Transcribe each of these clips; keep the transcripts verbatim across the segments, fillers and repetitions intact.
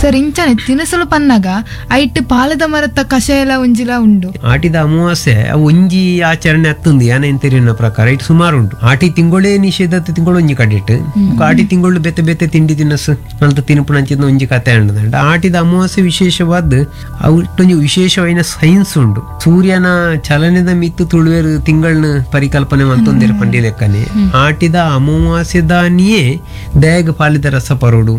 Sir ಇಂಚನೆ ತಿನಸಲು ಪನ್ನಗ ಐಟ್ ಪಾಲದ ಮರತ ಕಷಾಯಲ ಒಂಜಿಲ ಉಂಡು. ಆಟಿದ ಅಮಾವಾಸ್ಯೆ ಅವು ಒಂಜಿ ಆಚರಣೆ ಅತ್ತುಂದು ಯಾನ ತೆರಿಯನ ಪ್ರಕಾರ it ಸುಮಾರು ಉಂಟು. ಆಟಿ ತಿಂಗಳೇ ನಿಷೇಧ ತಿಂಗಳು ಒಂಜಿ ಕಡಿಟ್ ಆಟಿ ತಿಂಗಳು ಬೇತೆ ಬೇತೆ ತಿಂಡಿ ತಿನಸು ಮಲ್ತ ತಿನ್ಪುನಂಚಿನ ಒಂಜಿ ಕತೆ ಅಂಡದಂಡ. ಆಟಿದ ಅಮಾವಾಸ್ಯೆ ವಿಶೇಷವಾದ ಅವು ವಿಶೇಷವಾದ ಸೈನ್ಸ್ ಉಂಡು. ಸೂರ್ಯನ ಚಲನೆದ ಮಿತ್ತು ತುಳುವೇರು ತಿಂಗಳನ್ನ ಪರಿಕಲ್ಪನೆ ಮಲ್ತೊಂದಿರ ಪಂಡಿ ಲೆಕ್ಕನೆ ಆಟಿದ ಅಮಾವಾಸ್ಯದಾನಿಯೇ ದಯಗ್ ಪಾಲಿದ ರಸ ಪರೋಡು.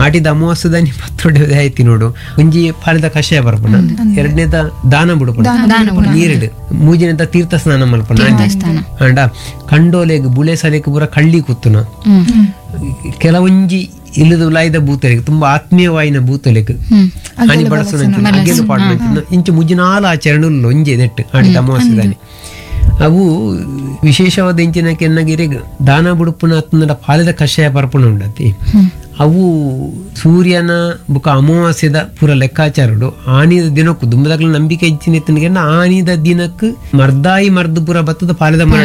ಆಟಿದ ಅಮಾವಾಸ್ಯದಾನಿ ಪತ್ರೊಡೆ ದಯ ತಿನ್ನೋಡು. ಒಂಜಿ ಪಾಲಿದ ಕಷಾಯ ಬರ್ಪಣ, ಎರಡನೇದ ದಾನ ಬುಡಪಣ ನೀರಿಡು, ಮೂಜಿನೇದ ತೀರ್ಥ ಸ್ನಾನ ಮಲ್ಪಣ ಅಂಡ ಕಂಡೋಲೆಗ್ ಬುಳೆ ಸಲೆಗ್ ಪೂರ ಕಳ್ಳಿ ಕುತ್ತುನ. ಕೆಲವೊಂಜಿ ಇಲ್ಲದ ಲಾಯ್ದ ಭೂತಲೆಗ್ ತುಂಬಾ ಆತ್ಮೀಯವಾಯಿನ ಭೂತಲೆಗ್ ಹಾನಿ ಬಳಸುನ ಅಗೆಲು ಪಾಡುನ ಇಂಚು ಮುಜಿನಾಲ ಆಚರಣೆ ಒಂಜಿ ನೆಟ್ಟು ಆಟಿದ ಅಮಾವಾಸ್ಯದಾನಿ. ಅವು ವಿಶೇಷವಾದ ಇಂಚಿನ ಕೆನ್ನಗಿರಿಗ್ ದಾನ ಬುಡುಪುನ ಅತ್ತಂಡ ಪಾಲಿದ ಕಷಾಯ ಪರ್ಪುಣ ಉಂಡತಿ. ಅವು ಸೂರ್ಯನ ಬುಕ ಅಮಾವಾಸ್ಯದ ಪೂರ ಲೆಕ್ಕಾಚಾರಡು ಆನಿದ ದಿನಕ್ಕೂ ದುಂಬದಾಗ್ಲ ನಂಬಿಕೆ ಹೆಚ್ಚಿನ ಎತ್ತನಿಗೆ ಆನಿದ ದಿನಕ್ಕೆ ಮರ್ದಾಯಿ ಮರ್ದು ಪೂರ ಬತ್ತದ ಪಾಲಿದ ಮರ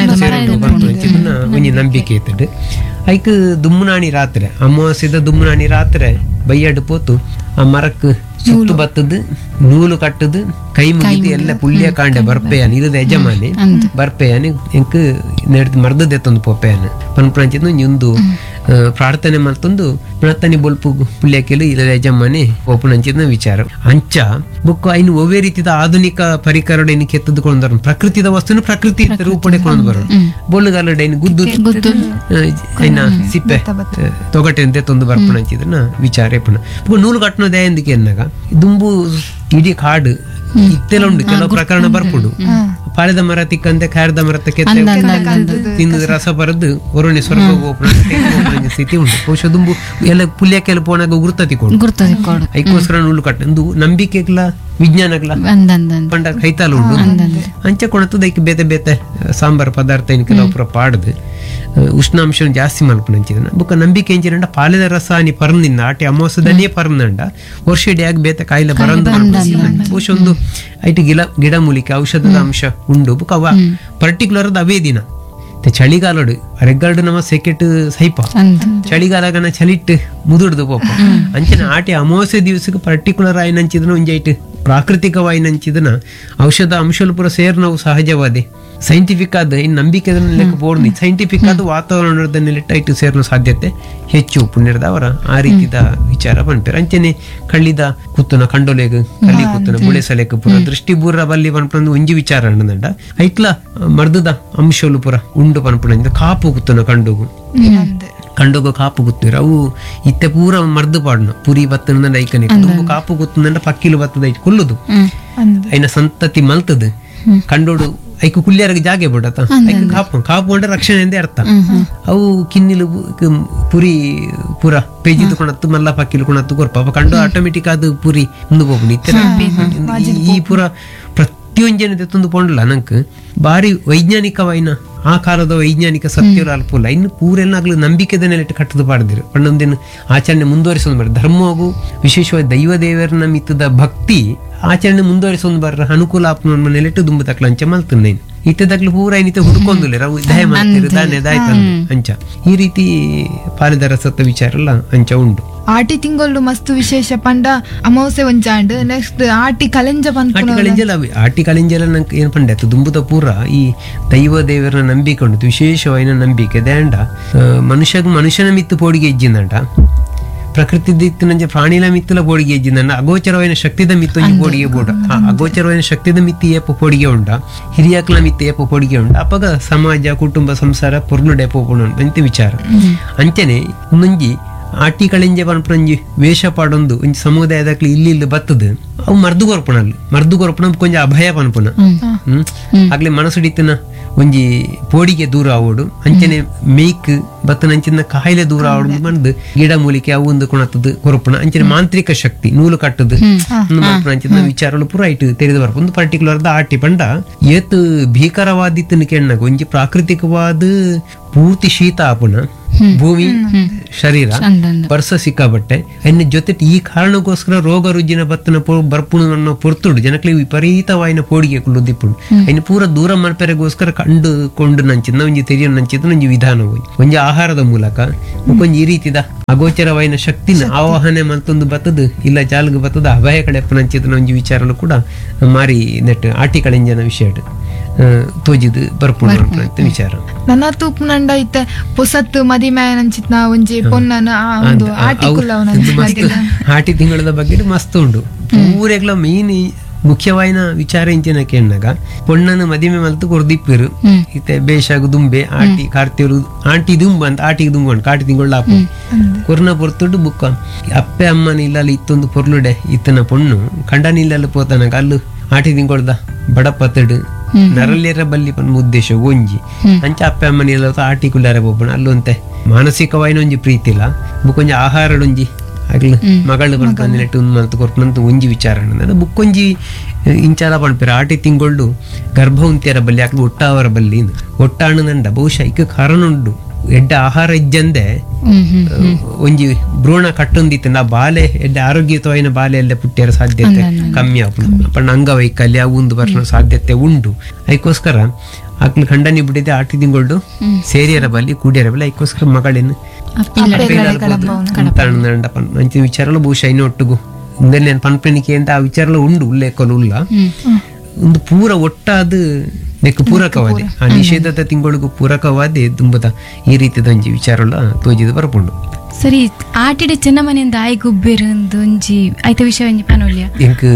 ಒಂಜಿ ನಂಬಿಕೆ ಇತ್ತಡು. ಐಕ್ ದುಮ್ಮನಾಣಿ ರಾತ್ರಿ ಅಮಾವಾಸ್ಯದ ದುಮ್ಮನಾಣಿ ರಾತ್ರಿ ಬೈಯಾಡು ಪೋತು ಆ ಮರಕ್ ಸುತ್ತು ಬತ್ತದು ನೂಲು ಕಟ್ಟದು ಕೈ ಮುಗಿದು ಎಲ್ಲ ಪುಳ್ಳಿಯ ಕಾಂಡೆ ಬರ್ಪೆಯಾನ ಇಲ್ಲದ ಯಜಮಾನಿ ಬರ್ಪೆಯಾನ ಎಂಕ್ ನೆಡ್ದು ಮರ್ದದ ಎತ್ತೊಂದು ಪೋಪೆಯಾನ ಪನ್ಪುನಂಚಿನ ಒಂಜಿ ಪ್ರಾರ್ಥನೆ ಮಲ್ತೊಂದು ಪ್ರಾರ್ಥನೆ ಬೊಲ್ಪು ಪುಳ್ಳಿಯಕ್ಕೆಲು ಇಲ್ಲದ ಯಜಮಾನಿ ಪೋಪುನಂಚಿನ ವಿಚಾರ. ಅಂಚ ಬುಕ್ ಐನು ಒವ್ವೇ ರೀತಿಯ ಆಧುನಿಕ ಪರಿಕರಡ ಇನ್ನು ಕೆತ್ತದುಕೊಂಡು ಬರೋಣ, ಪ್ರಕೃತಿದ ವಸ್ತುನು ಪ್ರಕೃತಿ ರೂಪಡೆ ಕೊಂಡು ಬರೋಣ. ಬೊಳ್ಳುಗಾಲಡ ಇನ್ನು ಗುದ್ದು ಐನ ಸಿಪ್ಪೆ ತೊಗಟೆ ತೊಂದು ಬರ್ಪುನಂಚಿದನ್ನ ವಿಚಾರ ಇಪ್ಪುನ. ಬುಕ್ ನೂಲು ಕಟ್ಟುನದೇ ಎಂದಕ್ಕೆ ಎನ್ನಾಗ ದುಂಬು ಇಡೀ ಕಾಡು ಇತ್ತೆಲ್ಲ ಉಂಡು ಕೆಲವು ಪ್ರಕರಣ ಬರ್ಪುಂಡು. ಪಾಳೆದ ಮರ ತಿಕ್ಕಂತೆ ಖಾರದ ಮರ ತಿಂದ ರಸ ಬರದು ಒರೊಣೆ ಸ್ವರ್ಗ ಸ್ಥಿತಿ ಉಂಟು. ಬಹುಶಃ ದುಂಬು ಎಲ್ಲ ಪುಲ್ಯಕ್ಕೆಲ್ಲ ಪೋನಾಗ ಗುರ್ತ ತಿಕ್ಕೊಂಡು ಐಕ್ಕೋಸ್ಕರ ನೂಲು ಕಟ್ಟ ಒಂದು ನಂಬಿಕೆಗ್ಲ ವಿಜ್ಞಾನಗ್ಲ ಪಂಡ ಕೈತಾಲ ಉಂಟು. ಅಂಚೆ ಕೊಣತದ ಐಕ್ ಬೇತೆ ಬೇತೆ ಸಾಂಬಾರ್ ಪದಾರ್ಥ ಇನ್ ಕೆಲವು ಪೂರ ಪಾಡ್ದು ಉಷ್ಣಾಂಶ ಜಾಸ್ತಿ ಮಲ್ಪುನಂಚಿದನ. ಬೊಕ್ಕ ನಂಬಿಕೆ ಎಂಚಿನಂಡ ಪಾಲೆದ ರಸ ಅನಿ ಪರ್ನಿಂದ ಆಟಿ ಅಮಾವಾಸ್ಯದನೇ ಪರ್ನಂಡ ವರ್ಷ ಇಡಿಯಾಗ ಬೇತೆ ಕಾಯಿಲೆ ಬರಂದು ಬಹುಶಃ ಒಂದು ಐಟು ಗಿಡ ಗಿಡಮೂಲಿಕೆ ಔಷಧದ ಅಂಶ ಉಂಡು. ಬೊಕ್ಕ ಅವ ಪರ್ಟಿಕ್ಯುಲರ್ ಅವೇ ದಿನ ಚಳಿಗಾಲಡು ಅರೆಗಾಲ್ಡು ನಮ್ಮ ಸೆಕೆಟ್ ಸೈಪ ಚಳಿಗಾಲಗನ ಚಳಿಟ್ಟು ಮುದುಡ್ದು ಪೋಪ ಅಂಚಿನ ಆಟಿ ಅಮಾವಾಸ್ಯೆ ದಿವಸಕ್ಕೆ ಪರ್ಟಿಕ್ಯುಲರ್ ಆಯ್ನಂಚಿದನ ಒಂಜಿ ಐಟು ಪ್ರಾಕೃತಿಕವಾಯಿನಂಚಿದನ ಔಷಧ ಅಂಶಲು ಪೂರ ಸೇರ್ ನಾವು ಸಹಜವಾದೆ ಸೈಂಟಿಫಿಕ್ ಆದ ಇನ್ ನಂಬಿಕೆ ಲೆಕ್ಕ ಬೋರ್ನಿ ಸೈಂಟಿಫಿಕ್ ಆದ ವಾತಾವರಣದ ನೆಲೆಟ್ ಸೇರ್ನ ಸಾಧ್ಯತೆ ಹೆಚ್ಚು ಪುಣ್ಯದವರ ಆ ರೀತಿದ ವಿಚಾರ ಪನ್ಪೇರು. ಅಂಚನೆ ಕಳ್ಳಿದ ಕುತ್ತುನ ಕಂಡೊಲೆಗ್ ಕಳ್ಳಿ ಕುತ್ತುನ ಬುಳೆ ಸಲೆಕ್ ಪೂರ ದೃಷ್ಟಿ ಬೂರ ಬಲ್ಲಿ ಪನ್ಪುನ ಒಂಜಿ ವಿಚಾರ ಅಂಡಂಡ ಐಕ್ಲ ಮರ್ದದ ಅಂಶಲು ಪೂರ ಉಂಡು ಪನ್ಪುನ ಕಾಪು ಕುತ್ತುನ ಕಂಡುಗು ಕಂಡೋಗ ಕಾಪು ಗುತ್ತಿರ ಅವು ಇತ್ತೆ ಪೂರ ಮರ್ದು ಪಾಡ್ನ ಪುರಿ ಬತ್ತನ ಐಕನೆ ದುಂಬು ಕಾಪು ಗುತ್ತಂಡ ಪಕ್ಕಿಲು ಬತ್ತದ ಐಟ್ ಕುಲ್ಲುದು ಐನ ಸಂತತಿ ಮಲ್ತದ ಕಂಡೋಡು ಐಕು ಕುಲ್ಯಾರಿಗೆ ಜಾಗೆ ಬಿಡತ ಐಕು ಕಾಪು ಕಾಪು ಅಂದ್ರೆ ರಕ್ಷಣೆ ಎಂದೇ ಅರ್ಥ. ಅವು ಕಿನ್ನಿಲು ಪುರಿ ಪೂರ ಪೇಜಿದು ಕೊಣತ್ತು ಮಲ್ಲ ಪಕ್ಕಿಲು ಕೊಣತ್ತು ಕೊರ್ಪ ಅಪ್ಪ ಕಂಡು ಆಟೋಮೆಟಿಕ್ ಅದು ಪುರಿ ಮುಂದೆ ಹೋಗ್ಬಿಡು ಇತ್ತೆ ಈ ಪೂರ ಪ್ರತಿಯೊಂಜನ ತಂದು ಪೊಂಡ್ಲ ನಂಕ್ ಬಾರಿ ವೈಜ್ಞಾನಿಕವಾಯಿನ ಆ ಕಾಲದ ವೈಜ್ಞಾನಿಕ ಸತ್ಯರು ಅಲ್ಪುಲ್ಲ ಇನ್ನು ಪೂರೆಲ್ಲ ಆಗ್ಲು ನಂಬಿಕೆದ ನೆಲೆಟ್ಟು ಕಟ್ಟದು ಪಾಡ್ದಿರು ಪಣ್ಣೊಂದಿನ ಆಚರಣೆ ಮುಂದುವರಿಸೊಂದು ಬರ್ರ ಧರ್ಮಗೂ ವಿಶೇಷವಾಗಿ ದೈವ ದೇವರನ್ನ ಮಿತ್ತದ ಭಕ್ತಿ ಆಚರಣೆ ಮುಂದುವರಿಸೊಂದು ಬರ್ರ ಅನುಕೂಲ ಆಪ್ನ ನೆಲೆಟ್ಟು ದುಂಬು ತಕ್ಲ ಅಂಚ ಮಲ್ತುನ್ನ ಇತ್ತೆ ತಕ್ಲು ಪೂರ ಏನಿತ್ತೆ ಹುಡುಕೊಂದುಲ್ಲ ರವು ದಯ ಮಾಡ್ತಿರು ದಾನೆ ದಾಯ್ತ ಅಂಚ ಈ ರೀತಿ ಪಾಲಿದ ರಸತ್ತ ವಿಚಾರ ಎಲ್ಲ ಅಂಚ ಉಂಟು. ಆಟಿ ತಿಂಗಳು ಮಸ್ತ್ ವಿಶೇಷ ಪಂಡ ಅಮಾವಾಸ್ಯೆ ಒಂಜಾಂಡ್ ನೆಕ್ಸ್ಟ್ ಆಟಿ ಕಲೆಂಜ ಆಟಿ ಕಳೆಂಜಲ ಆಟಿ ಕಳೆಂಜಲ ನಂಗೆ ಏನ್ ಪಂಡೆ ಆಯ್ತು ದುಂಬುದ ಪೂರ ಈ ದೈವ ದೇವರನ್ನ ನಂಬಿಕೆ ಉಂಟು ವಿಶೇಷವಾಯಿನ ನಂಬಿಕೆ ದೇಂಡ ಮನುಷ್ಯಗ್ ಮನುಷ್ಯನ ಮಿತ್ತು ಪೋಡಿಗೆ ಇಜ್ಜಿಂದಂಡ ಪ್ರಕೃತಿ ದಿತ್ತಿನಂಚ ಪ್ರಾಣಿಲ ಮಿತ್ತುಲ ಪೋಡಿಗೆ ಇಜ್ಜಿಂದಂಡ ಅಗೋಚರವಾಯಿನ ಶಕ್ತಿದ ಮಿತ್ತು ಒಂಜಿ ಪೋಡಿಗೆ ಬೋಡ ಆ ಅಗೋಚರವಾಯಿನ ಶಕ್ತಿದ ಮಿತ್ತಿ ಏಪ ಪೋಡಿಗೆ ಉಂಡ ಹಿರಿಯಾಕ್ಲ ಮಿತ್ತು ಏಪ ಪೋಡಿಗೆ ಉಂಡ ಅಪಗ ಸಮಾಜ ಕುಟುಂಬ ಸಂಸಾರ ಪೊರ್ಲು ಡೇಪ ಅಂತ ವಿಚಾರ. ಅಂಚನೆ ಒಂದೊಂಜಿ ಆಟಿ ಕಳೆಂಜ ಪನ್ಪುನಂಜಿ ವೇಷ ಪಾಡೊಂದು ಒಂಜಿ ಸಮುದಾಯದಕ್ಲಿ ಇಲ್ಲಿ ಇಲ್ಲಿ ಬತ್ತದ ಅವು ಮರ್ದು ಕೊರ್ಪುಣ ಅಲ್ಲಿ ಮರ್ದು ಕೊರ್ಪುಣ ಕೊಂಚ ಅಭಯ ಪನ್ಪುನ ಹ್ಮ್ ಆಗ್ಲಿ ಮನಸ್ಸುಡಿತನ ಒಂಜಿ ಪೋಡಿಗೆ ದೂರ ಆವೋಡು ಅಂಚನೆ ಮೇಕ್ ಬತ್ತನಂಚಿನ ಕಾಯಿಲೆ ದೂರ ಆವೋಡು ಮಂದು ಗಿಡ ಮೂಲಿಕೆ ಅವು ಒಂದು ಕೊಣತದ ಕೊರಪುಣ ಅಂಚನೆ ಮಾಂತ್ರಿಕ ಶಕ್ತಿ ನೂಲು ಕಟ್ಟದು ಅಂಚಿನ ವಿಚಾರಗಳು ಪೂರ ಐಟ್ ತೆರೆದು ಬರ್ಪ ಒಂದು ಪರ್ಟಿಕ್ಯುಲರ್ ಆಟಿ ಪಂಡ ಏತ್ ಭೀಕರವಾದಿತ್ತನ ಕೆಣ್ಣಗ ಒಂಜಿ ಪ್ರಾಕೃತಿಕವಾದ ಪೂರ್ತಿ ಶೀತ ಆಪುಣ ಭೂಮಿ ಶರೀರ ಬರ್ಸ ಸಿಕ್ಕಾಬಟ್ಟೆ ಅನ್ನ ಜೊತೆ ಈ ಕಾರಣಕ್ಕೋಸ್ಕರ ರೋಗ ರುಜಿನ ಬತ್ತನ ಬರ್ಪುಣ ಅನ್ನೋ ಪೊರ್ತುಡು ಜನಕ್ಕೆ ವಿಪರೀತವಾಯಿನ ಪೋಡಿಗೆ ಕುಳ್ಳುದಿಪ್ಪುಡು ಅಯ್ನ ಪೂರ ದೂರ ಮಲ್ಪೆರೆಗೋಸ್ಕರ ಕಂಡುಕೊಂಡು ನಂಚಿದ ಒಂಜಿ ತೆರಿಯ ನಂಚಿದ ಒಂಜಿ ವಿಧಾನ ಒಂಜಿ ಆಹಾರದ ಮೂಲಕ ಒಂಜಿ ಈ ರೀತಿದ ಅಗೋಚರವಾಯಿನ ಶಕ್ತಿನ ಆವಾಹನೆ ಮಲ್ತೊಂದು ಬತ್ತದು ಇಲ್ಲ ಜಾಲ್ಗ್ ಬತ್ತದ ಅಭಯ ಕಡೆ ನಂಚಿದ ಒಂಜಿ ವಿಚಾರನು ಕೂಡ ಮಾರಿ ನೆಟ್ ಆಟಿ ಕಳೆಂಜನ ವಿಷಯ ತೋಜಿದು ಬರ್ಪುಣ ಅಂತ ವಿಚಾರ. ನನ್ನ ತೂಪುನಂಡ ಇತ್ತೆ ಪೊಸತ್ತು ಮದಿಮೆ ನಂಚಿತ್ನ ಒಂಜಿ ಪೊನ್ನನ ಒಂದು ಆಟಿ ಆಟಿ ತಿಂಗಳದ ಬಗ್ಗೆ ಮಸ್ತ್ ಉಂಡು ಪೂರೆಗ್ಲ ಮೇನ್ ಮುಖ್ಯವಾಯಿನ ವಿಚಾರ ಇಂಚಿನ ಕೇಣ್ಣಾಗ ಪೊಣ್ಣನ ಮದಿಮೆ ಮಲ್ತು ಕೊರ್ದಿಪ್ಪಿರು ಇತ್ತೆ ಬೇಷಾಗು ದುಂಬೆ ಆಟಿ ಕಾರ್ತಿಯರು ಆಂಟಿ ದುಂಬ ಅಂತ ಆಟಿಗೆ ದುಂಬ ಉಂಟು ಕಾಟಿ ತಿಂಗಳ ಆಪು ಕೊರ್ನ ಪೊರ್ತುಡು ಬುಕ್ಕ ಅಪ್ಪೆ ಅಮ್ಮನ ಇಲ್ಲಲ್ಲಿ ಇತ್ತೊಂದು ಪೊರ್ಲುಡೆ ಇತ್ತನ ಪೊಣ್ಣು ಕಂಡನ ಇಲ್ಲಲ್ಲಿ ಪೋತನಾಗ ಅಲ್ಲು ಆಟಿ ತಿಂಗೊಳ್ದ ಬಡಪತ್ತಡು ನರಳ್ಯರ ಬಲ್ಲಿ ಪನ್ನ ಉದ್ದೇಶ ಒಂಜಿ ಅಂಚ ಅಪ್ಪೆ ಅಮ್ಮನ ಇಲ್ಲ ಆಟಿ ಕುಲ್ಲಾರೆ ಬೋಪಣ ಅಲ್ಲೊಂತೆ ಮಾನಸಿಕವಾಯಿನ ಒಂಜಿ ಪ್ರೀತಿ ಇಲ್ಲ ಬುಕ್ಕೊಂಜಿ ಆಹಾರಡೊಂಜಿ ಆಗ್ಲು ಮಗಳು ಪನ್ಪಂದಿನೆಟ್ಟು ಮಲ್ತು ಕೊರ್ಪುನಂತ ಒಂಜಿ ವಿಚಾರ ಬುಕ್ಕೊಂಜಿ ಇಂಚಾಲ ಪನ್ಪೆರ್ ಆಟಿ ತಿಂಗೊಳ್ಳು ಗರ್ಭ ಉಂತಿಯರ ಬಲ್ಲಿ ಆಕ್ಲು ಒಟ್ಟಾವರ ಬಲ್ಲಿ ಒಟ್ಟಾಣು ನಂಡ ಬಹುಶಃ ಇಕ್ಕ ಕಾರಣ ಉಂಡು ಎಡ್ಡ ಆಹಾರ ಇಜ್ಜಂದೆ ಒಂಜಿ ಭ್ರೂಣ ಕಟ್ಟೊಂದಿತ್ತು ಆ ಬಾಲೆ ಎಡ್ಡೆ ಆರೋಗ್ಯಯುತವಾಯಿನ ಬಾಲೆ ಎಲ್ಲ ಪುಟ್ಟಿಯರ ಸಾಧ್ಯತೆ ಕಮ್ಮಿ ಆಪುಂಡು ಪಂಡ ಅಂಗವೈಕಲ್ಯ ಒಂದು ಬರ್ನ ಸಾಧ್ಯತೆ ಉಂಡು. ಅದಕ್ಕೋಸ್ಕರ ಆಕ್ಲು ಖಂಡನಿ ಬಿಟ್ಟಿದ್ದೆ ಆಟಿ ತಿಂಗೊಳ್ಳು ಸೇರಿಯರ ಬಲ್ಲಿ ಕೂಡಿಯರ ಬಲ್ಲಿ ಅದಕ್ಕೋಸ್ಕರ ಮಗಳೇನು ಅಂಚಿನ ವಿಚಾರಲು ಬಹುಶಃ ಇನ್ನು ಒಟ್ಟುಗು ಇಂದಲ್ಲಿ ನಾನು ಪನ್ಪೆಣಿಕೆ ಅಂತ ಆ ವಿಚಾರಲು ಉಂಡು ಉಲ್ಲೇಖಲು ಉಲ್ಲ ಒಂದು ಪೂರ ಒಟ್ಟಾದ ನೆಕ್ ಪೂರಕವಾದೆ ಆ ನಿಷೇಧದ ತಿಂಗಳಿಗೂ ಪೂರಕವಾದೆ ತುಂಬದ ಈ ರೀತಿದ ಒಂಜಿ ವಿಚಾರಲ ತೋಜಿದ ಬರಪುಂಡು. ಸರಿ, ಆಟಿಡ ಚೆನ್ನಮನೆಯಿಂದ ಆಯ್ ಗುಬ್ಬೇರು ಒಂಜಿ ಐತ ವಿಷಯ ಒಂಜಿ ಪನೊಲ್ಯ ಎಂಕ್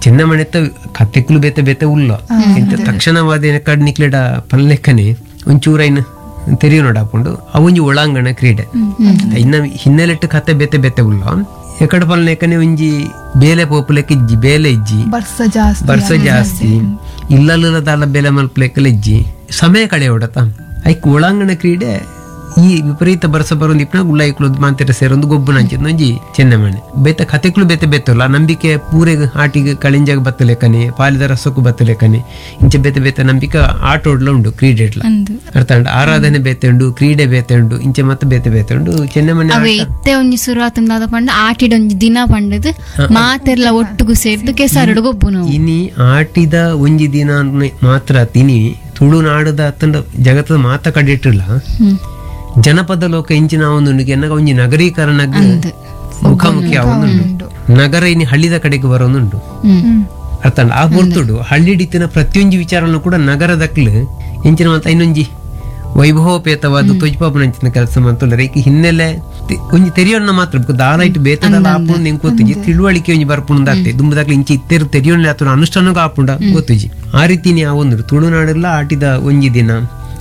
ಚೆನ್ನಮನೆತ್ತ ಕತೆಕ್ಲು ಬೇತೆ ಬೇತೆ ಉಲ್ಲ ಎಂತ ತಕ್ಷಣವಾದ ಕಡ್ ನಿಕ್ಲೆಡ ಪನ್ಲೆಕ್ಕನೆ ಒಂಚೂರೈನ್ ತೆರಿಯು ನೋಡಾಪುಂಡು ಅವೊಂಜಿ ಒಳಾಂಗಣ ಕ್ರೀಡೆ ಇನ್ನ ಹಿನ್ನೆಲೆಟ್ಟು ಕತೆ ಬೇತೆ ಬೇತೆ ಉಲ್ಲ ಎಕಡ ಪಲ್ಲೆಕ್ಕನೆ ಒಂಜಿ ಬೇಲೆ ಪೋಪುಲೆಕ್ಕ ಇಜ್ಜಿ ಬೇಲೆ ಇಜ್ಜಿ ಬರ್ಸ ಜಾಸ್ತಿ ಬರ್ಸ ಜಾಸ್ತಿ ಇಲ್ಲಲ್ಲದಾಲ ಬೇಲೆ ಮಲ್ಪಲೆಕ್ಕಲ ಇಜ್ಜಿ ಸಮಯ ಕಳೆ ಹೊಡತ ಐಕ್ ಒಳಾಂಗಣ ಕ್ರೀಡೆ ಈ ವಿಪರೀತ ಬರ್ಸ ಬರೋದು ಇಪ್ಪನ ಗುಳ್ಳಾಯಿಕ್ಲು ಮಾಂತಿರ ಸೇರೊಂದು ಗೊಬ್ಬು ನಂಚಿದ್ ಒಂಜಿ ಚೆನ್ನಮಣೆ ಬೇತ ಕತೆಕ್ಲು ಬೇತೆ ಬೇತಲ್ಲ ನಂಬಿಕೆ ಪೂರೆಗ್ ಆಟಿಗೆ ಕಳಿಂಜಾಗ ಬತ್ತಲೆಕ್ಕನೆ ಪಾಲಿದ ರಸಕ್ಕೂ ಬತ್ತಲೆಕ್ಕನೆ ಇಂಚ ಬೇತೆ ಬೇತೆ ನಂಬಿಕೆ ಆಟೋಡ್ಲ ಉಂಡು ಕ್ರೀಡೆ ಅರ್ಥ ಉಂಟು ಆರಾಧನೆ ಬೇತೆ ಉಂಡು ಕ್ರೀಡೆ ಬೇತೆ ಉಂಡು ಇಂಚೆ ಮತ್ತೆ ಬೇತೆ ಬೇತೆ ಉಂಡು ಚೆನ್ನಮಣೆ ಅವೇ ಇತ್ತೆ ಒಂಜಿ ಶುರುವಾತಂದಾದ ಪಂಡ ಆಟಿಡ ಒಂಜಿ ದಿನ ಪಂಡದು ಮಾತೆರ್ಲ ಒಟ್ಟುಗು ಸೇರ್ದು ಕೆಸರಡು ಗೊಬ್ಬು ನಾವು ಇನಿ ಆಟಿದ ಒಂಜಿ ದಿನ ಮಾತ್ರ ತಿನಿ ತುಳುನಾಡದ ಅತ್ತಂಡ ಜಗತ್ತದ ಮಾತ ಕಡಿಟ್ಟಿಲ್ಲ ಜನಪದ ಲೋಕ ಇಂಚಿನ ಒಂದು ಎನ್ನಗ ಒಂಜಿ ನಗರೀಕರಣ ಮುಖಾಮುಖಿ ಅವನುಂಡು ನಗರ ಇನಿ ಹಳ್ಳಿದ ಕಡೆಗೆ ಬರೋನುಂಡು ಅರ್ಥ ಆ ಹೊರ್ತುಡು ಹಳ್ಳಿಡಿತಿನ ಪ್ರತಿಯೊಂಜಿ ವಿಚಾರವನ್ನು ಕೂಡ ನಗರದಕ್ಲು ಇಂಚಿನ ಮಾತ ಇನ್ನೊಂಜಿ ವೈಭವೋಪೇತವಾದ ತೊಜ್ಪಾಪನಂಚಿನ ಕೆಲಸ ಮಂತುಲ್ಲ ಈ ಹಿನ್ನೆಲೆ ಒಂಜಿ ತೆರಿಯೋಣ ಮಾತ್ರ ದಾಲ ಇಟ್ಟು ಬೇತದಲ್ಲ ಆಪುಂಡು ಎಂಕ್ ಗೊತ್ತುಜಿ ತಿಳುವಳಿಕೆ ಒಂಜಿ ಬರ್ಪುಂಡು ಆಗ್ತದೆ ದುಂಬದಾಗ್ಲಿ ಇಂಚಿ ಇತ್ತೆರು ತೆರಿಯೋಣ ಆತುನ ಅನುಷ್ಠಾನಕ್ಕೂ ಆಪುಂಡ ಗೊತ್ತುಜಿ ಆ ರೀತಿ ಆ ಒಂದು ತುಳುನಾಡೆಲ್ಲ ಆಟಿದ ಒಂಜಿ ದಿನ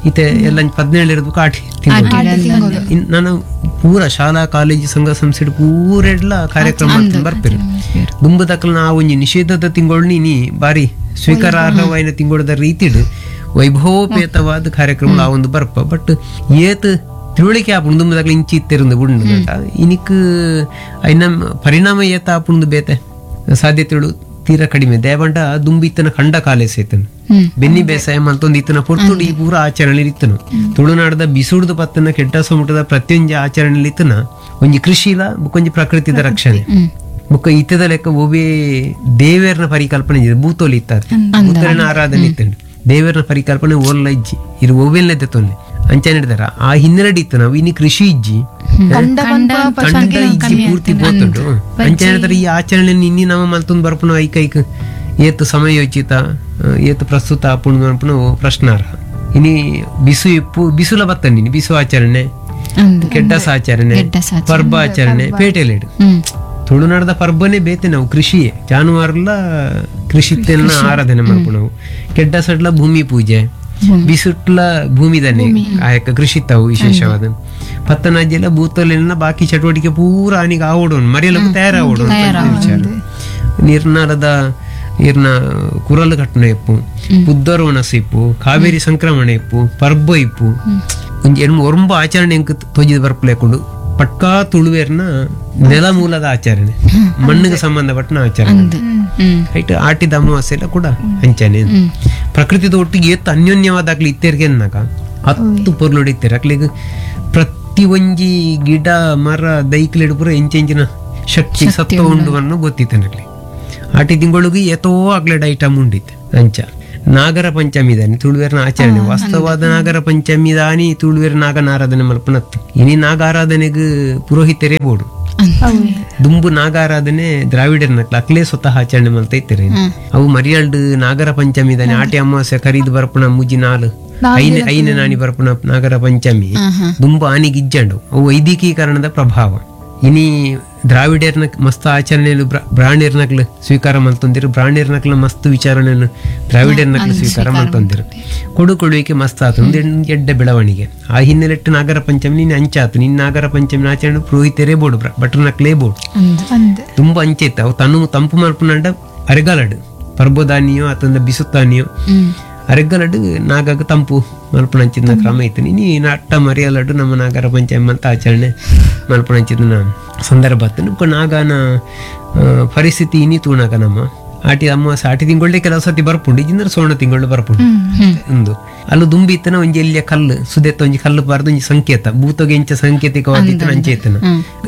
ಇತ್ತೆ ಎಲ್ಲ ಪದಿನೇಳು ಇರಬೇಕು ಆಟಿ ತಿಂಗಳು ನಾನು ಪೂರ ಶಾಲಾ ಕಾಲೇಜು ಸಂಘ ಸಂಸ್ಥೆ ಪೂರ ಎಲ್ಲ ಕಾರ್ಯಕ್ರಮ ಬರ್ಪೇರು ದುಂಬದಕ್ಕಲ್ ನಾ ಒಂಜಿ ನಿಷೇಧದ ತಿಂಗಳು ನೀ ಬಾರಿ ಸ್ವೀಕಾರಾರ್ಹವಾಯಿನ ತಿಂಗಳದ ರೀತಿಡು ವೈಭವೋಪೇತವಾದ ಕಾರ್ಯಕ್ರಮ ಆ ಒಂದು ಬರ್ಪ ಬಟ್ ಏತ್ ತಿಳುವಳಿಕೆ ಆಪುಂಡು ದುಂಬದಾಗ್ಲಿ ಇಂಚಿ ಇತ್ತೆರುಂದು ಬುಂಡು ಇನಿಕ್ ಐನ ಪರಿಣಾಮ ಏತ ಆಪುಂಡು ಬೇತೆ ಸಾಧ್ಯತೆಗಳು ತೀರಾ ಕಡಿಮೆ ದೇವಂಡ ದುಂಬಿ ಇತ್ತನ ಕಂಡ ಕಾಲೇ ಸೇತನು ಬೆನ್ನಿ ಬೇಸಾಯ ಮತ್ತೊಂದು ಇತ್ತನ ಪೊರ್ತುಡು ಈ ಪೂರ ಆಚರಣೆ ಇತ್ತನು ತುಳುನಾಡದ ಬಿಸುಡ್ದು ಪತ್ತನ ಕೆಟ್ಟ ಸಮುಟದ ಪ್ರತಿಯೊಂಜಿ ಆಚರಣೆ ಇತ್ತನ ಒಂಜಿ ಕೃಷಿಲ ಬುಕ್ಕೊಂಜಿ ಪ್ರಕೃತಿದ ರಕ್ಷಣೆ ಬುಕ್ಕ ಇತ್ತದ ಲೆಕ್ಕ ಒಬ್ಬೇ ದೇವೇರ್ನ ಪರಿಕಲ್ಪನೆ ಇದೆ ಭೂತೋಲಿ ಇತ್ತ ಭೂತರನ ಆರಾಧನೆ ಇತ್ತಂಡು ದೇವರನ ಪರಿಕಲ್ಪನೆ ಓಲ್ಲ ಇಜ್ಜಿ ಇದು ಒವ್ವೆಲ್ಲದೆ ತೊಂದೆ ಅಂಚನೆ ಹಿಡ್ದಾರ ಆ ಹಿನ್ನೆಲೆ ಇತ್ತು ನಾವು ಇನ್ನು ಕೃಷಿ ಇಜ್ಜಿ ಕಂಡ ಕಂಡ ಇಜ್ಜಿ ಪೂರ್ತಿ ಬೋತುಂಡು ಅಂಚನೆ ಹಿಡ್ದಾರ ಈ ಆಚರಣೆ ಇನ್ನಿ ನಮ್ಮ ಮಲ್ತೊಂದು ಬರ್ಪುನ ಐಕ್ ಐಕ್ ಏತು ಸಮಯೋಚಿತ ಏತು ಪ್ರಸ್ತುತ ಆಪುಂಡು ಅನ್ಪುನ ಪ್ರಶ್ನಾರ್ಹ ಇನಿ ಬಿಸು ಇಪ್ಪು ಬಿಸುಲ ಬತ್ತಂಡಿನಿ ಬಿಸು ಆಚರಣೆ ಕೆಡ್ಡಸ ಆಚರಣೆ ಪರ್ಬ ಆಚರಣೆ ಪೇಟೆಲೇಡು ತುಳುನಾಡದ ಪರ್ಬನೇ ಬೇತೆ ನಾವು ಕೃಷಿಯೇ ಜಾನುವಾರುಲ ಕೃಷಿತ್ತೆಲ್ಲ ಆರಾಧನೆ ಮಾಡ್ಪು ನಾವು ಕೆಡ್ಡ ಸಡ್ಲ ಭೂಮಿ ಪೂಜೆ ಬಿಸುಟ್ಲ ಭೂಮಿದನೆ ಆಯಕ್ಕ ಕೃಷಿ ತಾವು ವಿಶೇಷವಾದ ಪತ್ತನಾಜ್ಯಲ್ಲ ಭೂತಲೆಲ್ಲ ಬಾಕಿ ಚಟುವಟಿಕೆ ಪೂರ ಆನಿಗೆ ಆವಡೋನು ಮರೆಯಲಕ್ಕೂ ತಯಾರಾವಡು ವಿಚಾರ ನಿರ್ನಾಲದ ಇರ್ನ ಕುರಲು ಕಟ್ಟಣ ಇಪ್ಪು ಬುದ್ಧರ ಒಣಸು ಇಪ್ಪು ಕಾವೇರಿ ಸಂಕ್ರಮಣ ಇಪ್ಪು ಪರ್ಬ ಇಪ್ಪು ಒಂಜಿ ಎಣ್ಮ ಒರಂಬ ಆಚರಣೆ ಎಂಕ್ ತೋಜಿದ ಬರ್ಪಲೇಕೊಂಡು ಪಟ್ಕಾ ತುಳುವೇರ್ನ ನೆಲಮೂಲದ ಆಚರಣೆ ಮಣ್ಣಿಗೆ ಸಂಬಂಧಪಟ್ಟನ ಆಚರಣೆ ರೈಟ್ ಆಟಿದ ಅಮಾವಾಸ್ಯೆ ಎಲ್ಲ ಕೂಡ ಅಂಚನೆ ಪ್ರಕೃತಿದ ಒಟ್ಟಿಗೆ ಎತ್ತು ಅನ್ಯೋನ್ಯವಾದಾಗ್ಲಿ ಇತ್ತೆರ್ಗೆ ಅನ್ನಾಗ ಹತ್ತು ಪೊರ್ಲುಡಿತ್ತಾರೆ ಅಕ್ಲಿಗೆ ಪ್ರತಿ ಒಂಜಿ ಗಿಡ ಮರ ದೈಕ್ಲೆಡ್ ಪೂರ ಎಂಚೆಂಚಿನ ಶಕ್ತಿ ಸತ್ವ ಉಂಡು ಅನ್ನೋ ಗೊತ್ತಿತ್ತು ಅಕ್ಲಿ. ಆಟಿ ತಿಂಗಳಿಗೆ ಎತೋ ಅಗ್ಲೆಡ್ ಐಟಮ್ ಉಂಡಿತ್ತು. ಅಂಚ ನಾಗರ ಪಂಚಮಿ ದಾನಿ ತುಳುವೆರ್ನ ಆಚರಣೆ. ವಾಸ್ತವಾದ ನಾಗರ ಪಂಚಮಿ ದಾನಿ ತುಳುವೆರ್ ನಾಗನ ಆರಾಧನೆ ಮಲ್ಪನತ್ತು. ಇನಿ ನಾಗಾರಾಧನೆಗೆ ಪುರೋಹಿತರೇ ಬೋಡು. ದುಂಬು ನಾಗಾರಾಧನೆ ದ್ರಾವಿಡರ್ನ ಅಕ್ಲೇ ಸ್ವತಃ ಆಚರಣೆ ಮಲ್ತ ಇತ್ತಾರೆ. ಅವು ಮರಿಯಾಲ್ಡ್ ನಾಗರ ಪಂಚಮಿ ದಾನಿ ಆಟಿ ಅಮಾವಾಸ್ಯೆ ಖರೀದ್ ಬರ್ಪುಣ ಮುಜಿ ನಾಲು ಐನೆ ಐನೆ ನಾನಿ ಬರ್ಪುಣ ನಾಗರ ಪಂಚಮಿ ದುಂಬು ಆನಿಗೆ ಇಜ್ಜಂಡು. ಅವು ವೈದಿಕೀಕರಣದ ಪ್ರಭಾವ. ಇನಿ ದ್ರಾವಿಡರ್ನ ಮಸ್ತ್ ಆಚರಣೆಯನ್ನು ಬ್ರಾಹ್ಮಣರ್ನಕ್ಲು ಸ್ವೀಕಾರ ಮಲ್ತೊಂದಿರು, ಬ್ರಾಹ್ಮಣರ್ನಕ್ಲ ಮಸ್ತ್ ವಿಚಾರಣೆಯನ್ನು ದ್ರಾವಿಡರ್ನಕ್ಲು ಸ್ವೀಕಾರ ಮಲ್ತೊಂದಿರು. ಕೊಡು ಕೊಡುವಿಕೆ ಮಸ್ತ್ ಆತು, ಒಂದು ಎಡ್ಡೆ ಬೆಳವಣಿಗೆ. ಆ ಹಿನ್ನೆಲೆಟ್ಟು ನಾಗರ ಪಂಚಮಿ ನೀನು ಅಂಚಾತು. ನಿನ್ನ ನಾಗರ ಪಂಚಮಿ ಆಚರಣೆ ಪುರೋಹಿತರೇ ಬೋಡು, ಭಟ್ರನಕ್ಲೇ ಬೋಡು. ತುಂಬಾ ಅಂಚೈತ ಅವು ತನು ತಂಪು ಮಲ್ಪುನಂಡ ಅರೆಗಾಲಡು ಪರ್ಬೋದಾನಿಯೋ ಅತಂದ ಬಿಸುತ್ತಾನಿಯೋ ಅರೆಗಲಡು ನಾಗಾಗ ತಂಪು ಮಲ್ಪುಣಂಚಿನ ಕ್ರಮ ಇತ್ತು. ನೀ ಅಟ್ಟ ಮರಿಯಲಡು ನಮ್ಮ ನಾಗರ ಪಂಚಮಿ ಅಂತ ಆಚರಣೆ ಮಲ್ಪುಣಂಚಿನ ಸಂದರ್ಭ ಬೊಕ್ಕ ನಾಗನ ಪರಿಸ್ಥಿತಿ ಇನಿ ತೂಣಾಗ ನಮ್ಮ ಆಟಿ ಅಮಾವಾಸ್ಯೆ ಆಟಿ ತಿಂಗಳೇ ಕೆಲವು ಸತಿ ಬರ್ಪುಂಡು, ಇಜ್ಜಿಂದ್ರೆ ಸೋಣ ತಿಂಗಳು ಬರ್ಪುಂಡು. ಒಂದು ಅಲ್ಲೂ ದುಂಬಿ ಇತ್ತನ ಒಂಜಿ ಎಲ್ಲಿಯ ಕಲ್ಲು ಸುದೆತ್ತ ಒಂಜಿ ಕಲ್ಲು ಬಾರ್ದು ಒಂಜಿ ಸಂಕೇತ ಭೂತಗೆ ಎಂಚ ಸಾಂಕೇತಿಕವಾಗಿತ್ತು ಅಂಚೆ ಇತ್ತನ.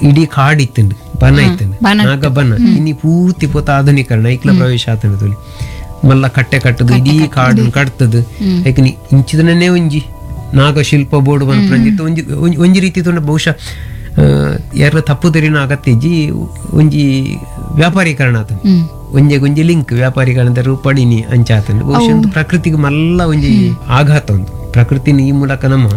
ಇಡೀ ಕಾಡು ಇತ್ತಂಡು, ಬನ ಇತ್ತಂಡು, ನಾಗ ಬನ. ಇನಿ ಪೂರ್ತಿ ಪೋತ ಆಧುನೀಕರಣ ಐಕ್ಲ ಪ್ರವೇಶ ಆತನ ತುಲಿ ಮಲ್ಲ ಕಟ್ಟೆ ಕಟ್ಟದು ಇಡೀ ಕಾಡು ಕಟ್ತದು. ಯಾಕಂದ್ರೆ ಇಂಚಿದನೇ ಒಂಜಿ ನಾಗಶಿಲ್ಪ ಬೋರ್ಡು ಬಂದಿತ್ತು. ಒಂಜಿ ಒಂಜಿ ರೀತಿ ತುಂಡ ಬಹುಶಃ ಯಾರ ತಪ್ಪು ತೆರಿನ ಅಗತ್ಯ ಒಂಜಿ ವ್ಯಾಪಾರೀಕರಣ ಆತ ಒಂಜೆ ಒಂಜಿ ಲಿಂಕ್ ವ್ಯಾಪಾರೀಕರಣದ ರೂಪಡಿನಿ ಅಂಚಾತನ ಬಹುಶಃ ಒಂದು ಪ್ರಕೃತಿಗೆ ಮಲ್ಲ ಒಂಜಿ ಆಘಾತ ಒಂದು ಪ್ರಕೃತಿನ ಈ ಮೂಲಕ ನಮ್ಮ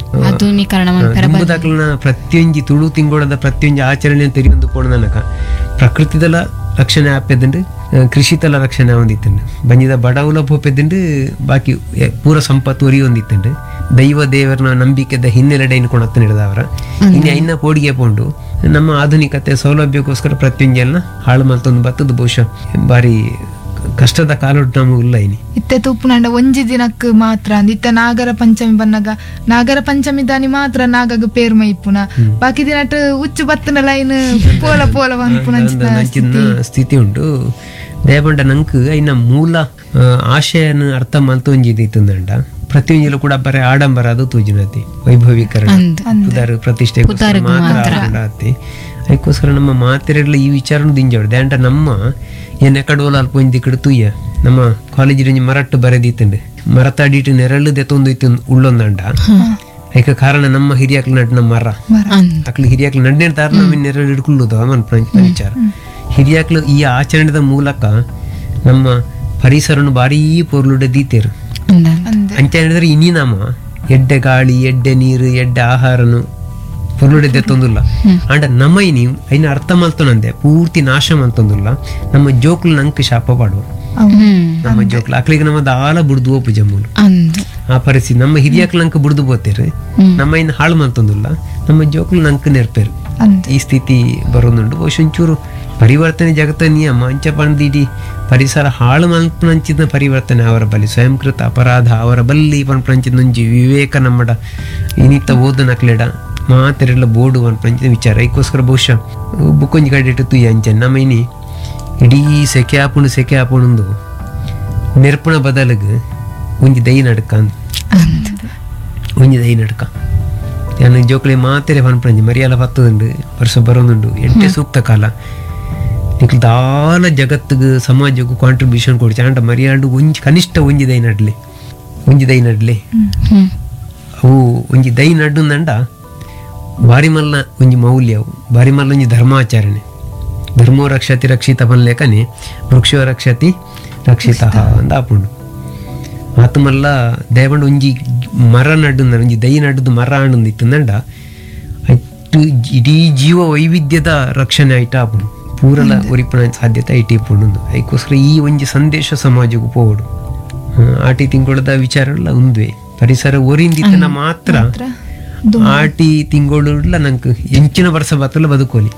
ದುಂಬುದಾಕ್ಲನ ಪ್ರತಿಯೊಂಜಿ ತುಳು ತಿಂಗಳದ ಪ್ರತಿಯೊಂಜಿ ಆಚರಣೆ ತೆರಿಯೊಂದು ಪೋಣದನಕ ಪ್ರಕೃತಿದಲ ರಕ್ಷಣೆ ಆಪೆದಂಡು, ಕೃಷಿತಲ ರಕ್ಷಣೆ ಹೊಂದಿತ್ತಂಡು, ಬಂಜಿದ ಬಡವುಲ ಪೋಪೆದಂಡು, ಬಾಕಿ ಪೂರ ಸಂಪತ್ತು ಒರಿ ಹೊಂದಿತ್ತಂಡು. ದೈವ ದೇವರನ ನಂಬಿಕೆದ ಹಿನ್ನೆಲೆಡೆಯನ್ನು ಕೊಣತ್ತ ಹಿಡಿದವರ ಇನ್ನು ಐನ ಪೋಡಿಗೆ ಪೋಂಡು ನಮ್ಮ ಆಧುನಿಕತೆ ಸೌಲಭ್ಯಕ್ಕೋಸ್ಕರ ಪ್ರತಿಯೊಂಜೆಲ್ಲ ಹಾಳು ಮಲ್ತೊಂದು ಬತ್ತದ ಬಹುಶಃ ಬಾರಿ ಕಷ್ಟದ ಕಾಲೊಟ್ಟು ನಮಗೆ ಇಲ್ಲ. ಇನಿ ಇತ್ತೆ ತೂಪುನಂಡ ಒಂಜಿ ದಿನಕ್ಕೆ ಮಾತ್ರ ಅಂದ್ ಇತ್ತೆ ನಾಗರ ಪಂಚಮಿ ಬನ್ನಗ ನಾಗರ ಪಂಚಮಿ ದಾನಿ ಮಾತ್ರ ನಾಗಗ ಪೇರ್ ಮೈಪುನ, ಬಾಕಿ ದಿನಟ್ ಉಚ್ಚು ಬತ್ತನ ಲೈನ್ ಪೋಲ ಪೋಲ ಅಂಚಿನ ಸ್ಥಿತಿ ಉಂಟು. ದಯಪಂಡ ನಂಕ್ ಐನ ಮೂಲ ಆಶಯನ ಅರ್ಥ ಮಲ್ತು ಒಂಜಿ ಇತ್ತಂದಂಡ ಪ್ರತಿಯೊಂಜಿಲು ಕೂಡ ಬರೀ ಆಡಂಬರ ಅದು ತೂಜಿನತಿ ವೈಭವೀಕರಣ ಪುದಾರು ಪ್ರತಿಷ್ಠೆ ಮಾತ್ರ ಆತಿ. ಅದಕ್ಕೋಸ್ಕರ ನಮ್ಮ ಮಾತೆರೆಡ್ಲ ಈ ವಿಚಾರನು ದಿಂಜಾಡು ದ್ಯಾಂಡ ನಮ್ಮ ಏನ್ ಎಕಡೋಲ ಅಲ್ಪ ಒಂಜಿ ದಿಕ್ಕಡು ತೂಯ ನಮ್ಮ ಕಾಲೇಜ್ ಒಂಜಿ ಮರಟ್ಟು ಬರೆದಿತ್ತಂಡು ಮರತಾಡಿಟ್ಟು ನೆರಳು ದೆತ್ತೊಂದು ಇತ್ತು ಉಳ್ಳೊಂದಂಡ. ಐಕ ಕಾರಣ ನಮ್ಮ ಹಿರಿಯಾಕ್ಲು ನಡ್ನ ಮರ ಅಕ್ಲು ಹಿರಿಯಾಕ್ಲು ನಡ್ನೇ ತಾರ ನಮ್ಮ ನೆರಳು ಹಿಡ್ಕೊಳ್ಳೋದು ಮನ್ಪಂಚಿನ ವಿಚಾರ. ಹಿರಿಯಾಕ್ಲು ಈ ಆಚರಣೆದ ಮೂಲಕ ನಮ್ಮ ಪರಿಸರನು ಭಾರೀ ಪೊರ್ಲುಡೆ ದೀತೇರು. ಅಂಚ ಹೇಳಿದ್ರೆ ಇನಿ ನಮ್ಮ ಎಡ್ಡೆ ಗಾಳಿ ಎಡ್ಡೆ ನೀರು ಎಡ್ಡೆ ಆಹಾರನು ಪೊರ್ಲುಡೆ ದೆತ್ತೊಂದುಲ್ಲ. ಅಂಡ ನಮ್ಮ ಇನಿ ಐನ ಅರ್ಥ ಮಲ್ತೊನಂದೆ ಪೂರ್ತಿ ನಾಶ ಮಲ್ತೊಂದುಲ್ಲ. ನಮ್ಮ ಜೋಕ್ಲು ನಂಕ್ ಶಾಪ ಪಾಡುವ ನಮ್ಮ ಜೋಕ್ಲು ಅಕ್ಲಿಗೆ ನಮ್ಮ ದಾಲ ಬುಡ್ದು ಓಪು ಜಮ್ಮುಲು ಆ ಪರಿಸ್ಥಿತಿ. ನಮ್ಮ ಹಿರಿಯಕ್ಲು ನಂಕ್ ಬುಡ್ದು ಬೋತೇರು, ನಮ್ಮ ಇನ್ನು ಹಾಳು ಮಲ್ತೊಂದುಲ್ಲ, ನಮ್ಮ ಜೋಕ್ಲು ನಂಕ್ ನೆರ್ಪೇರು. ಈ ಸ್ಥಿತಿ ಬರೋದುಂಟು. ಬಹುಶಃ ಒಂಚೂರು ಪರಿವರ್ತನೆ ಜಗತ್ತ ನಿಯಮ ಅಂಚ ಪಂದಿಡಿ ಪರಿಸರ ಹಾಳು ಮಲ್ಪನಂಚಿನ ಪರಿವರ್ತನೆ ಅವರ ಬಲಿ ಸ್ವಯಂಕೃತ ಅಪರಾಧ ಅವರ ಬಲ್ಲಿ ಪನ್ಪಂಚಿನ ಒಂಜಿ ವಿವೇಕ ನಮ್ಮಡ ಇನಿತ ಓದು ನಕ್ಲೆಡ ಮಾತೆರೆಲ್ಲ ಬೋರ್ಡು ಪನ್ಪಂಚಿನ ವಿಚಾರ. ಐಕ್ಕೋಸ್ಕರ ಬಹುಶಃ ಬುಕ್ಕೊಂಜಿ ಕಡೆ ತುಯ್ಯ ಅಂಚೆ ನಮ್ಮ ಇನಿ ಇಡೀ ಸೆಕೆ ಆಪುಂಡು ಸೆಕೆ ಆಪುಂಡು ನೆರ್ಪುಣ ಬದಲಿಗೆ ಒಂಜಿ ದೈ ನಡ್ಕ ಒಂಜಿ ದೈ ನಡ್ಕ ನಾನು ಜೋಕ್ಲೆ ಮಾತೆರೆ ಪನ್ಪಂಜಿ ಮರಿಯಾಲ ಪತ್ತದುಂಡು ವರ್ಷ ಬರೋದುಂಡು ಎಡ್ಡೆ ಸೂಕ್ತ ಕಾಲ ನಿಕ್ಲು ದಾಲ ಜಗತ್ತಿಗೆ ಸಮಾಜಕ್ಕೂ ಕಾಂಟ್ರಿಬ್ಯೂಷನ್ ಕೊಡ್ಚ ಅಂಡ ಮರಿಯಾಲ್ಡು ಒಂಜಿ ಕನಿಷ್ಠ ಒಂಜಿ ದೈ ನಡ್ಲಿ ಒಂಜಿ ದೈ ನಡ್ಲಿ ಅವು ಒಂಜಿ ದೈ ನಡ್ಡುಂದಂಡ ಬಾರಿ ಮಲ್ಲ ಒಂಜಿ ಮೌಲ್ಯ ಅವು ಬಾರಿ ಮಲ್ಲ ಒಂಜಿ ಧರ್ಮಾಚರಣೆ. ಧರ್ಮೋ ರಕ್ಷತಿ ರಕ್ಷಿತ ಪನ್ಲೇಕನೆ ವೃಕ್ಷೋ ರಕ್ಷತಿ ರಕ್ಷಿತ ಅಂದ ಆಪುಂಡು. ಆತು ಮಲ್ಲ ದಯಪಂಡ ಒಂಜಿ ಮರ ನಡ್ಡು ಒಂಜಿ ದೈ ನಡ್ದು ಮರ ಆಂಡು ಇತ್ತಂದಂಡ ಅಟ್ಟು ಇಡೀ ಜೀವ ವೈವಿಧ್ಯದ ರಕ್ಷಣೆ ಆಯ್ತು ಆಪುಂಡು. ಪೂರಲ ಒರಿಪುಣ ಸಾಧ್ಯತೆ IT ಪುಂಡು. ಅದಕ್ಕೋಸ್ಕರ ಈ ಒಂಜಿ ಸಂದೇಶ ಸಮಾಜಕ್ಕೂ ಪೋವಡು. ಆಟಿ ತಿಂಗಳದ ವಿಚಾರ ಉಂದ್ವೆ ಪರಿಸರ ಒರಿಂದಿತ್ತನ ಮಾತ್ರ ಆಟಿ ತಿಂಗಳು ನಂಗೆ ಎಂಚಿನ ವರ್ಷ ಬತ್ತಲ ಬದುಕೋಲಿ.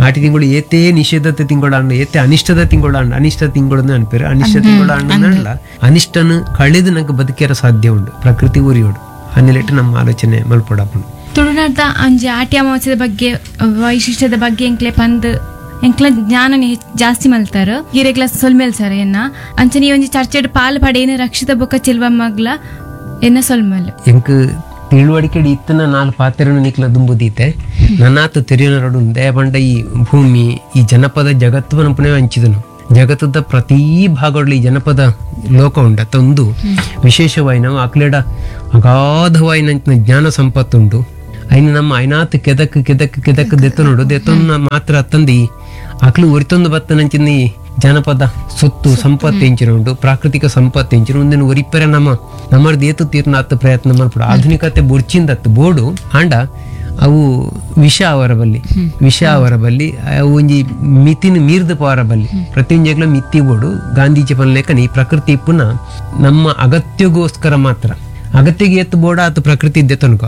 ಆಟಿ ತಿಂಗಳು ಏತೇ ನಿಷೇಧತೆ ತಿಂಗಳು ಅಣ್ಣ ಏತೆ ಅನಿಷ್ಟದ ತಿಂಗಳು ಅಣ್ಣ ಅನಿಷ್ಟ ತಿಂಗಳನ್ನ ಅನ್ಪೇರು ಅನಿಷ್ಟ ತಿಂಗಳು ಅಣ್ಣ ಅನಿಷ್ಟನ ಕಳೆದು ನಂಗೆ ಬದುಕಿರ ಸಾಧ್ಯ ಉಂಟು ಪ್ರಕೃತಿ ಉರಿಯೋಡು. ಅನ್ನಿಲೆಟ್ಟು ನಮ್ಮ ಆಲೋಚನೆ ಮಲ್ಪಡಾಪುಂಡು. ತುಳುನಾಡ್ದ ಅಂಜಿ ಆಟಿ ಅಮಾವಾಸ್ಯದ ಬಗ್ಗೆ ವೈಶಿಷ್ಟ್ಯದ ಬಗ್ಗೆ ಎಂಕ್ಲೆ ಪಂದ್ ಎಂಕ್ಲ ಜ್ಞಾನನೆ ಜಾಸ್ತಿ ಮಲ್ತಾರ ಗಿರೆಗ್ಲ ಸೊಲ್ಮೇಲ್ ಸರ್ ಎನ್ನ ಅಂಚನೆ ಈ ಒಂಜಿ ಚರ್ಚೆಡ್ ಪಾಲ್ ಪಡೇನು ರಕ್ಷಿತ ಬೊಕ್ಕ ಚೆಲ್ವ ಮಗ್ಲ ಎನ್ನ ಸೊಲ್ಮೇಲ್ ಎಂಕ್ ತಿಳುವಳಿಕೆ ಇತ್ತನ ನಾಲ್ ಪಾತ್ರನ ನಿಕ್ಲ ದುಂಬುದೀತೆ ನನ್ನಾತು ತೆರಿಯನರಡು ದಯಪಂಡ ಈ ಭೂಮಿ ಈ ಜನಪದ ಜಗತ್ತುವನ ಪುನಃ ಹಂಚಿದನು ಜಗತ್ತದ ಪ್ರತೀ ಭಾಗದಲ್ಲಿ ಈ ಜನಪದ ಲೋಕ ಉಂಡ ತಂದು ವಿಶೇಷವಾಗಿ ನಾವು ಅಕ್ಲೆಡ ಅಗಾಧವಾಯಿನ ಜ್ಞಾನ ಸಂಪತ್ತುಂಟು ಐನ ನಮ್ಮ ಐನಾತ್ ಕೆದಕ್ ಕೆದಕ್ ಕೆದಕ್ ದೆತ್ತನೋಡು ದೆತ್ತೊನ್ನ ಮಾತ್ರ ತಂದು ಅಕ್ಲು ಒರಿತೊಂದು ಬತ್ತನಂಚಿನ ಈ ಜನಪದ ಸೊತ್ತು ಸಂಪತ್ತು ಎಂಚಿನ ಉಂಟು ಪ್ರಾಕೃತಿಕ ಸಂಪತ್ತು ಎಂಚಿನ ಒಂದಿನ ಒರಿಪೆರೆ ನಮ್ಮ ನಮ್ಮರ್ದು ಏತು ತೀರ್ನ ಅತ್ತು ಪ್ರಯತ್ನ ಮಲ್ಪಡು ಆಧುನಿಕತೆ ಬೊಡ್ಚಿಂದತ್ತು ಬೋಡು ಆಂಡ ಅವು ವಿಷ ಅವರ ಬಲ್ಲಿ ವಿಷ ಅವರ ಬಲ್ಲಿ ಅವು ಒಂಜಿ ಮಿತಿನ ಮೀರ್ದ ಪವರ ಬಲ್ಲಿ ಪ್ರತಿಯೊಂಜೆಗ್ಲ ಮಿತಿ ಬೋಡು ಗಾಂಧೀಜಿ ಪನ್ಲೇಕನ ಈ ಪ್ರಕೃತಿ ಪುನಃ ನಮ್ಮ ಅಗತ್ಯಗೋಸ್ಕರ ಮಾತ್ರ ಅಗತ್ಯಗೆ ಎತ್ತು ಬೋಡ ಆತು ಪ್ರಕೃತಿ ಇದ್ದೆ ತನಕ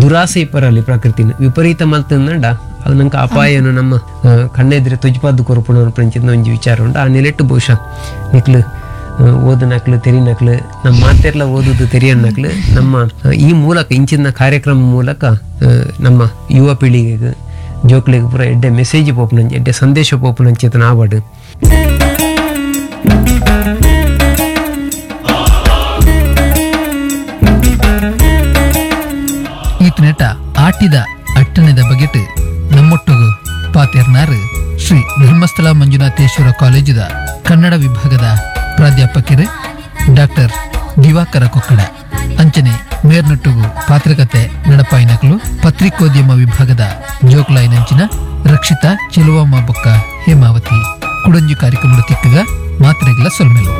ದುರಾಸೆ ಇಪ್ಪರಲ್ಲಿ ಪ್ರಕೃತಿನ ವಿಪರೀತ ಮಲ್ತಂದಂಡ ಅದು ನಂಗೆ ಅಪಾಯನು ನಮ್ಮ ಆ, ಕಣ್ಣೆದ್ರೆ ತೊಜ್ಪಾದ್ದು ಕೊರಪುಣ ಪ್ರಂಚಿನ ಒಂಜಿ ವಿಚಾರ ಉಂಟು ಆ ನೆಲೆಟ್ಟು ಬಹುಶಃ ನಿಕ್ಲು ಓದನಕ್ಲು ತೆರಿನಕ್ಲು ನಮ್ಮ ಮಾತೆರ್ಲ ಓದುದು ತೆರಿಯನ್ನಕ್ಲು ನಮ್ಮ ಆ, ಈ ಮೂಲಕ ಇಂಚಿನ ಕಾರ್ಯಕ್ರಮ ಮೂಲಕ ಆ, ನಮ್ಮ ಯುವ ಪೀಳಿಗೆಗೆ ಜೋಕ್ಲಿಗೆ ಪೂರ ಎಡ್ಡೆ ಮೆಸೇಜ್ ಪೋಪುನಂಚೆ ಎಡ್ಡೆ ಸಂದೇಶ ಪೋಪುನಂಚೇತನ ಆವಡು ಈತನೆಟ ಆಟಿದ ಅಟ್ಟಣದ ಬಗೆಟ್ ನಮ್ಮೊಟ್ಟುಗು ಪಾತೇರ್ನಾರು ಶ್ರೀ ಧರ್ಮಸ್ಥಳ ಮಂಜುನಾಥೇಶ್ವರ ಕಾಲೇಜಿದ ಕನ್ನಡ ವಿಭಾಗದ ಪ್ರಾಧ್ಯಾಪಕರು ಡಾಕ್ಟರ್ ದಿವಾಕರ ಕೊಕ್ಕಡ ಅಂಚನೆ ಮೇರ್ನೊಟ್ಟುಗು ಪಾತ್ರಕತೆ ನಡಪಾಯಿನಕಲು ಪತ್ರಿಕೋದ್ಯಮ ವಿಭಾಗದ ಜೋಕ್ಲಾಯಿನಂಚಿನ ರಕ್ಷಿತಾ ಚೆಲುವಮ್ಮ ಬೊಕ್ಕ ಹೇಮಾವತಿ ಕುಡಂಜು ಕಾರ್ಯಕ್ರಮದ ತಿಕ್ಕಗ ಮಾತ್ರೆಗಳ ಸೊಲ್ಮೆಲು.